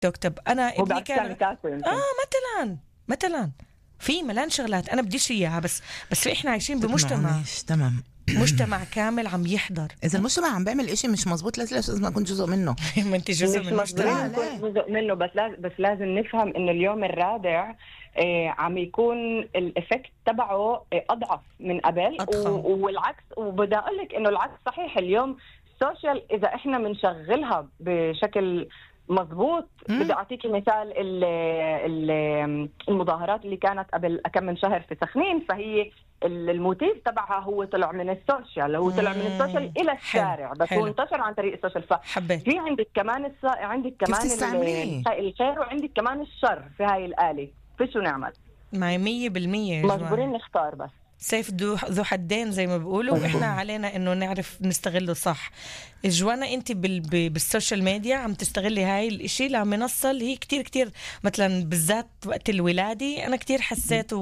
طب أنا هو ابني بعد كان مثلا في ملان شغلات أنا بديش إياها، بس إحنا عايشين بمجتمع تمام مجتمع كامل عم يحضر. إذا المجتمع عم بيعمل إشي مش مزبوط لازم أكون جزء منه. ما أنت جزء من المجتمع. جزء منه، بس لازم نفهم إنه اليوم الرابع عم يكون الإفكت تبعه أضعف من قبل والعكس. وبدأ أقول لك إنه العكس صحيح. اليوم السوشيال إذا إحنا منشغلها بشكل مظبوط، بدي أعطيكي مثال المظاهرات اللي كانت قبل كم من شهر في سخنين، فهي الموتيف تبعها هو طلع من السوشيال، هو طلع من السوشيال إلى الشارع، بس هو انتشر عن طريق السوشيال. في عندك كمان عندك كمان الخير وعندك كمان الشر في هاي الآلة. في شو نعمل؟ معي 100% مجبورين نختار، بس سيف ذو حدين زي ما بيقولوا، وإحنا علينا إنه نعرف نستغله صح. جوانا أنت بالسوشيال ميديا عم تستغلي هاي الإشي لمنصة اللي هي كتير بالذات بالذات وقت الولادة. أنا كتير حسيت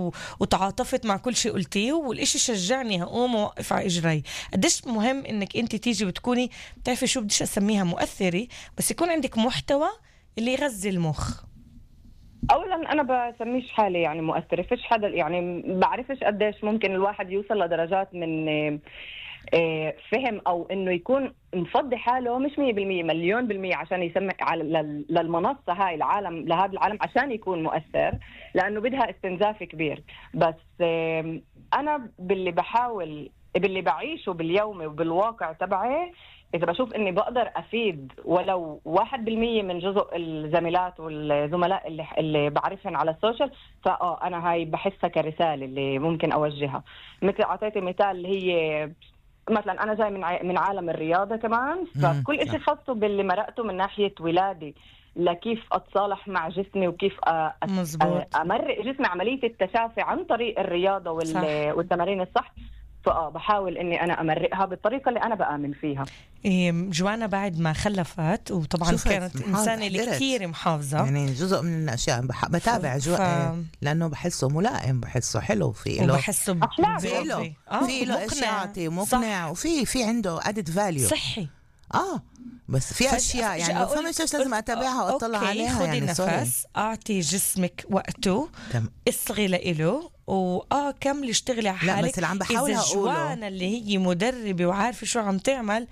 وتعاطفت مع كل شيء قلتيه، والإشي شجعني هقوم ووقف على إجري. قديش مهم إنك أنت تيجي وتكوني بتعرفي شو بديش أسميها مؤثرة، بس يكون عندك محتوى اللي يغذي المخ. اولا انا بسميش حالي يعني مؤثره، فيش حدا يعني بعرفش قديش ممكن الواحد يوصل لدرجات من فهم او انه يكون مفضي حاله مش 100% 1,000,000% عشان يسمع للمنصه هاي العالم، لهذا العالم عشان يكون مؤثر، لانه بدها استنزاف كبير. بس انا باللي بعيشه باليومي وبالواقع تبعي، إذا بشوف إني بقدر أفيد ولو 1% من جزء الزميلات والزملاء اللي بعرفهم على السوشيال، أنا هاي بحسها كرسالة اللي ممكن أوجهها. مثل أعطيتي مثال اللي هي مثلا أنا جاي من عالم الرياضة كمان، فكل إشي خاصه باللي مرقته من ناحية ولادي، لكيف أتصالح مع جسمي وكيف أمرق جسمي عملية التشافي عن طريق الرياضة والتمارين الصح. بحاول إني أنا أمرقها بالطريقة اللي أنا بآمن فيها. جوانا بعد ما خلفت، وطبعا كانت إنسانة اللي كتير محافظة، يعني جزء من الأشياء بتابع لأنه بحسه ملائم، بحسه حلو، في له وبحسه في له إشياء مقنع، وفي عنده added value صحي. بس في أشياء يعني فمش لازم أتابعها وأطلع عليها. يعني نفس أعطي جسمك وقته، اصغي له كملي اشتغلي على حالك. لا بس اللي عم بحاول أقوله جوانا اللي هي مدربة وعارفة شو عم تعمل،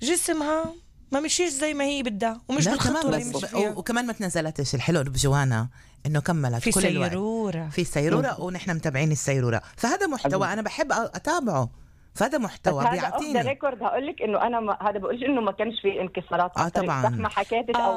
جسمها ما مشيش زي ما هي بدها ومش بالخطوة اللي مش فيها. وكمان ما تنزلتش. الحلو بجوانا إنه كملت في كل سيرورة. في سيرورة ونحن متابعين السيرورة، فهذا محتوى أنا بحب أتابعه، فهذا محتوى بيعطيني. هذا ريكورد هقول لك انه انا هذا بقولش انه ما كانش في انكسارات طبعا ما حكيت او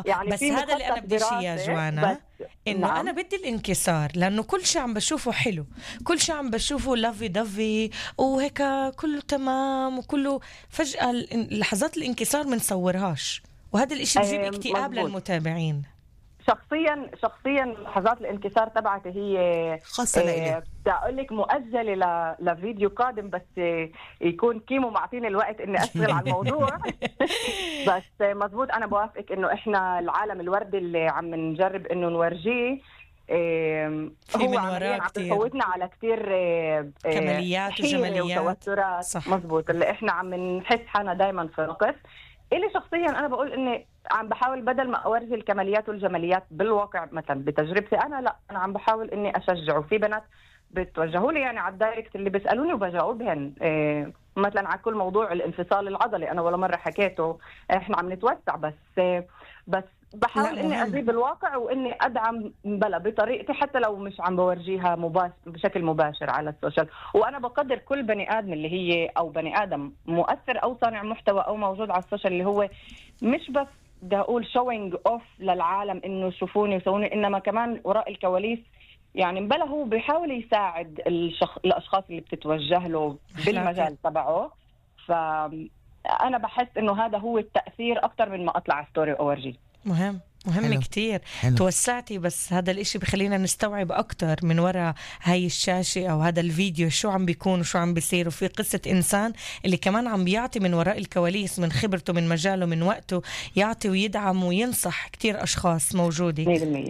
يعني بس هذا اللي انا بدي يا جوانا، انه نعم. انا بدي الانكسار، لانه كل شيء عم بشوفه حلو، كل شيء عم بشوفه لافي دافي وهيك كله تمام وكله، فجأة لحظات الانكسار منصورهاش، وهذا الاشي بجيب اكتئاب للمتابعين. شخصيا لحظات الانكسار تبعتي هي خاصة لإلي. بدي أقول لك مؤجلة لفيديو قادم، بس يكون كيمو معطيني الوقت إني أشتغل على الموضوع. بس مزبوط، أنا بوافقك إنه إحنا العالم الوردي اللي عم نجرب إنه نورجيه هو عم يفوتنا على كتير كماليات وجماليات وتوترات. مزبوط، اللي إحنا عم نحس حالنا دايما في نقص. إلي شخصيا أنا بقول إني عم بحاول بدل ما أورجي الكماليات والجماليات بالواقع مثلا بتجربتي أنا عم بحاول إني أشجعه. في بنات بتوجهوا لي يعني على الدايركت اللي بيسألوني وبجاوبهن مثلا على كل موضوع الانفصال العضلي، أنا ولا مرة حكيته، إحنا عم نتوسع، بس بحاول إني أجيب الواقع وإني أدعم بطريقتي، حتى لو مش عم بورجيها بشكل مباشر على السوشيال. وأنا بقدر كل بني آدم اللي هي أو بني آدم مؤثر أو صانع محتوى أو موجود على السوشيال، اللي هو مش بس بدي أقول showing off للعالم إنه شوفوني وسووني، إنما كمان وراء الكواليس يعني مبلا هو بيحاول يساعد الأشخاص اللي بتتوجه له بالمجال تبعه. فأنا بحس إنه هذا هو التأثير أكتر من ما أطلع ستوري أورجي. مهم كتير. توسعتي، بس هذا الاشي بخلينا نستوعب اكتر من وراء هاي الشاشة او هذا الفيديو شو عم بيكون وشو عم بيصير، وفي قصة انسان اللي كمان عم بيعطي من وراء الكواليس، من خبرته، من مجاله، من وقته، يعطي ويدعم وينصح كتير اشخاص موجودة.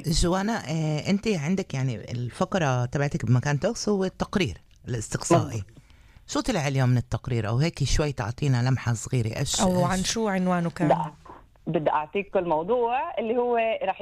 جوانا انت عندك يعني الفقرة تبعتك بمكان تقص هو التقرير الاستقصائي. شو طلع اليوم من التقرير، او هيك شوي تعطينا لمحة صغيرة؟ او عن شو عنوانه كان؟ بدي اعطيك الموضوع اللي هو رح يكون